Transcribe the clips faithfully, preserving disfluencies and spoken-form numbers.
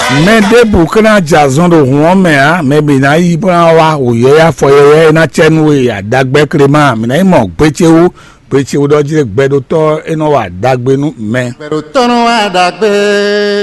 Mɛ ɖěbǔ ka ná jɛ azɔn ɖo hǔn ɔ́ mɛ ǎ, mɛ bǐ ná yi bó ná wá wǔyɛ́yɛ́ afɔ yɛ́yɛ́ e ná cɛ nú we adagbɛ́ Klema. Mǐ ná yi mɔ gbé ce wú, gbé ce wú ɖɔ jí gbɛɖotɔ́ e nɔ wa ɖagbe nú mɛ. Gbɛɖotɔ́ nɔ wa ɖagbe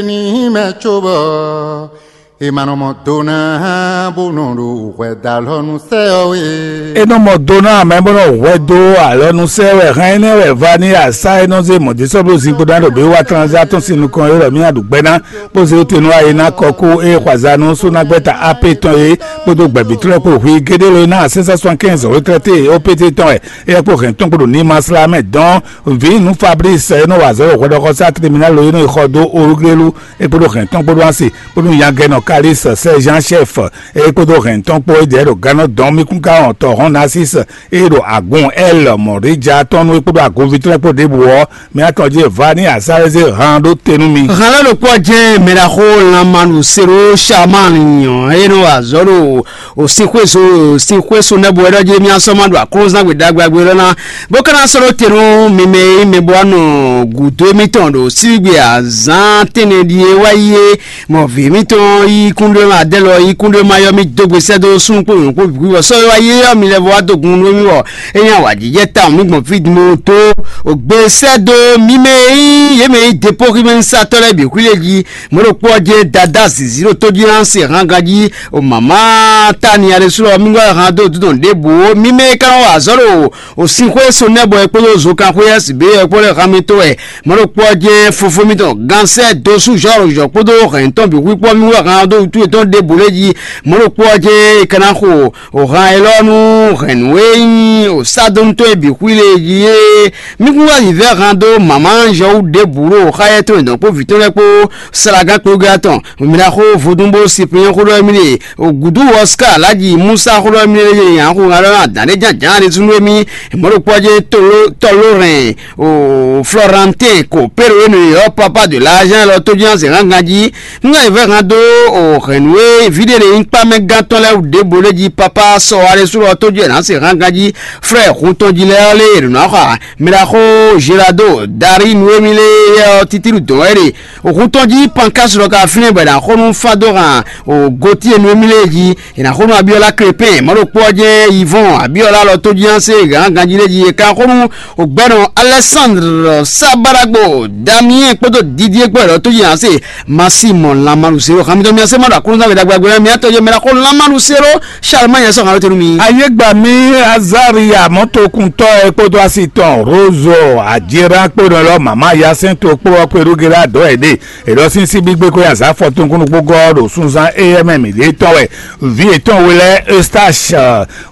ní mɛ cóbɔ è ma nɔ mɔ do ná bó nɔ ɖo hwɛdalɔnu sɛ ɔ́ é. É nɔ mɔ do ná mɛ bó nɔ hwɛ dó alɔnu sɛ wɛ hɛn énɛ́ wɛ va ní asá e nɔ zé mɔ̌dísɔ́bló zinkpo ná ɖo bí wá tranzá tɔn sín nukɔn é ɖɔ mí aɖu gbɛ ná bó zé te nú ayi ná kɔ kú é xwazanu súnagbɛ́ta apé tɔn é kpódó gbɛ̌bítɔ́ lɛ́ɛ kpó hwi géɖé ló ná sɛ́nsɛ́n sɔ́n kɛ́nzɔ́n wétlɛ́té ó pété tɔn wɛ é kpó hɛn tɔn kpó ɖo ní masla mɛ dɔn vǐ nú Fabrice e nɔ wa azɔ̌ ɖo hwɛɖɔxɔsá tribunal e nɔ yi xɔ dó Oruglélu é kpódó hɛn tɔn kpódó asi kpódó nyagɛnɔ Kalis sɛ́ Jean chef é kpódó hɛn tɔn kpó é ɖɛ̌ ɖo gannɔ dɔn mí kún ká wɔn tɔ hɔn Narcisse é ɖo agun L mɔ̌ɖéja tɔn nú é kpódó agunví tɔn lɛ́ɛ kpó ɖěbǔ ɔ́, mía tɔn jí e va ní asá e zé han ɖó te nú mi. Han lɛ́ ɖokpó ɔ́ jɛ́n mɛɖaxó lanmanu seɖó Shamani ɔ́ e nɔ wa azɔ̌ ɖo o sinxwéso sinxwéso nɛ́ bo wɛ ɖɔ jí mía sɔ́ ma ɖo aklúnzán gbe ɖagbe ɖagbe ɖɔ ná bó ka ná sɔ́ ɖó te nú mi mɛ e mɛ bo wá nɔ gǔdo émítɔn ɖo síbígbe azǎn tɛ́nnɛ ɖíe wá yi é. Mɔ vǐ mǐtɔn yí kúnɖéma adɛ́ lɔ yí kúnɖéma yɔ́ mì dó gbe sɛ́ dó súnnu kpó nyɔ̌nu kpó bǐ kpó sɔ́ e wá yé ɔ́ mi lɛ́ vɔ wá dó gun nú mì bɔ é nyí awǎjijɛ tawun mì gbɔn fí din bó dó gbe sɛ́ dó mi mɛ e nyí yě mɛ e nyí depóxímɛnúsatɔ́ lɛ́ɛ bǐ xwí lě jí. Mɔ̌ ɖokpó ɔ́ jɛ́n dadá zǐzí ɖo tójílánsɛ hángan jí o mǎmá Tania ɖésú ɔ́ mì wá han dó dúdɔn ɖěbǔ ó. Mi mɛ e ka nɔ wa azɔ̌ ɖo o sinxwé Sonɛ́bɔ é kpódó Zokanxwé Ɛ́sibě ɔ́ kpó lɛ́ han mi tó wɛ. Mɔ̌ ɖokpó ɔ́ jɛ́n fofó mǐtɔn Gansɛ́ dosú Zɔ́ɔluzɔ kpódó hɛn tɔn bǐ xwíkpɔ́ mì wɛ han dó wútu yětɔn ɖěbǔ lě jí. Mɔ̌ ɖokpó ɔ́ jɛ́n è ka ná xo o han élɔ́ nú hɛ̌nnu e nyí o Sádonu tɔn e bǐ xwí lě jí é. Mí kún wá vǐvɛ́ han dó mǎmá Anzɔwu ɖěbǔ ɖo xáyɛ́ tɔn e dɔn kpó vǐ tɔn lɛ́ɛ kpó Salagán kplɔ́ngbɛ́ tɔn. Mǐ ná xó vodún bó Sipliyɛ́n xó ɖɔ émí ɖe o gǔdú Ɔská Alǎji Musa xó ɖɔ émí ɖe nya xó ŋa ɖɔ ná dǎn ɖé jánjǎn ɖé súnnu émí. Mɔ̌ ɖokpó ɔ́ jɛ́n toló tɔló hɛn o Flɔrantɛn ko Péro e nɔ ylɔ́ Papa de Lajan lɔ tó jɛ́n azě hángan jí. Nú nya yi vɛ́ hán dó o hɛ̌nnu e vǐ ɖé ɖe nyí kpámɛgán tɔn lɛ́ɛ wú ɖěbǔ lé jí Papa sɔ Alɛsúlɔ tó jɛ nǎ se hángan jí. Flɛ́ hun tɔn jí lɛ́ɛ ɔ́ lé è ɖǒ ná xɔ ǎ. Mɛ ɖaxó Zelado Darí Nuwémi lé yɛ ɔ́ títíɖu dɔn wɛ ɖe. Hun tɔn jí Pankásu lɔ ka fínɛ́ bɔ è nǎ xo nú fá dó han o Gotíe Nuwémi lé jí. È nǎ xo nú Abíɔlá Klépɛ́n, mɔ̌ ɖokpó ɔ́ jɛ́n Yivɔ́ɔn Abíɔlá lɔ tó jí ná se gǎngán jí lé jí. È ka xo nú o gbɛ́nɔ Alɛsándr Sábaɖagbo Damiɛ́n kpódó Didié kpó lɔ tó jí ná se Masi mɔ lanmanu se ɖo xamitɔ mia se ma ɖo aklúnɔzán wěɖagbe ɖagbe mia tɔ́ jɛ mɛ ɖaxó lanmanu se ɖo Charlemagne sɔ hàn lóte nú mi. Ayégbà mi Azaria mɔtokuntɔ ɛ kpódó asi tɔn Rozo Ajera kpódó lɔ mama yasɛn to kpó ɔkpɛ ɖó gera dɔ ɛ ɖe. Èɖɔ sín sí gbígbé kó azǎ fɔtɔn kúnnú kpó gɔ́ ɖo súnzán éyɛ́ mɛ mǐ ɖe tɔn wɛ. Vǐ yětɔn we lɛ́ɛ Eustache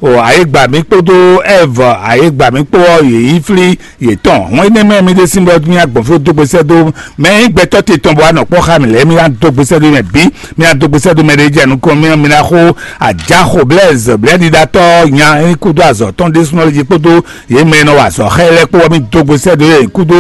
o ayégbà mi kpódó Ève ayégbà mi kpó ɔ́ yě yí flí yětɔn. Hɔn énɛ́ mɛ mi ɖésú bɔ mí agbɔ̌n fí dó gbe sɛ́ dó mɛ e nyí gbɛtɔ́ te tɔn bɔ wá nɔ kpɔ́ xá mǐ lɛ́ɛ, mí ná dó gbe sɛ́ dó mɛ bǐ, mí ná dó gbe sɛ́ dó mɛ ɖé jɛ nukɔn mí, mí ná xo ajáxo Blɛ́zɛ blɛ́ɖiɖatɔ́ nya e kúdó azɔ̌ tɔn ɖésúnɔ jí kpódó yě mɛ e nɔ wa azɔ̌ xá ɛ lɛ́ɛ kpó wɛ mí dó gbe sɛ́ dó yě kúdó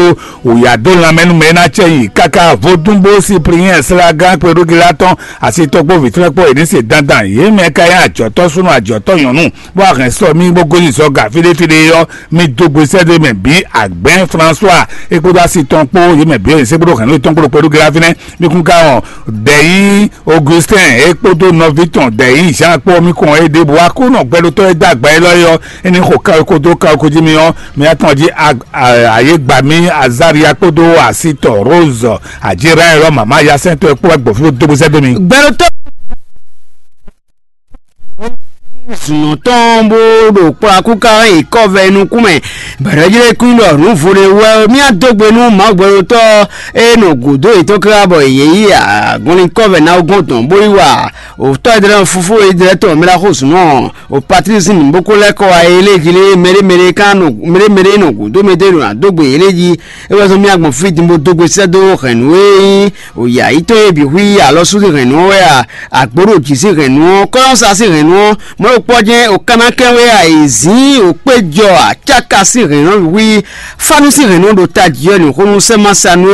wǔyá dó lanmɛ nú mɛ e ná cɛ nyi káká vodúnbó Sipliyɛ́n Slagán kpɛɖógilá tɔn asitɔ́gbó vǐtɔ́ kpó yě ní se dandan. Yě mɛ ka nyí ajɔ̌tɔ́ súnnu ajɔ̌tɔ́ nyɔ̌nu bó wá hɛn sɔ mì bó gosín zɔ ga fíɖéfíɖé ɔ́, mì dó gbe sɛ́ dó mɛ bǐ Agbɛ̌n François é kpódó asi tɔn kpó yě mɛ bǐ e yě sɛ́ kpódó hɛ̌nnu yětɔn kpó ɖo kpɛɖógilá fínɛ́. Mì kún ka wɔn Dɛ̌yí Augustin é kpódó nɔví tɔn Dɛ̌yí Jean kpó mì kɔn é ɖěbǔ wá kú nɔ gbɛɖotɔ́ e dó agba élɔ́ é ɔ́, é ní xo kawékó dó kawékó jí mì ɔ́, mì atɔn jí ayégbamí Azaria kpódó asitɔ Rose Ajira élɔ́ mama yasɛntɔ́ é kpó wá gbɔn fí bó dó gbésɛ dó mi. Gbɛɖotɔ́ zunɔ tɔn bó ɖo kplɔ́ akúká yi kɔ́vɛ nukún mɛ bɛ̌ɖɔ́jlé kún ɖɔ nǔ vo ɖé wɛ mía dó gbe nú Mawu gbɛɖotɔ́ e nɔ gǔdo yětɔn káká bɔ yě yi agɔnlin kɔ́vɛ ná gɔ́n tɔn bó yi wa òtɔ́ Edrɛ́ fúfú Edrɛ́ tɔn mɛ ɖaxó zunɔ o Patlísi nǔ bó kó lɛ́ kɔ wá yě lé jí lé mɛɖé mɛɖé ká nɔ mɛɖé mɛɖé nɔ gǔdo mɛ dó nɔ dó gbe yě lé jí. É wɛ zɔ́n mì agbɔn fí din bó dó gbe sɛ́ dó hɛ̌nnu e nyí o yǎyítɔ́ e bǐ hu yi alɔ sú sín hɛ̌nnu ɔ́ wɛ a? Àgbǒ ɖo jǐ sín hɛ̌nnu ɔ́, kɔ́yɔ́sa sín hɛ̌nnu ɔ́, mɔ̌ ɖokpó ɔ́ jɛ́n o ka ná kɛn wɛ a? È zǐn o kpéjɔ acáka sín hɛ̌nnu ɔ́ wí, fánú sín hɛ̌nnu ɔ́ ɖo tají ɔ́, nǔxónú sɛ́ ma sa nú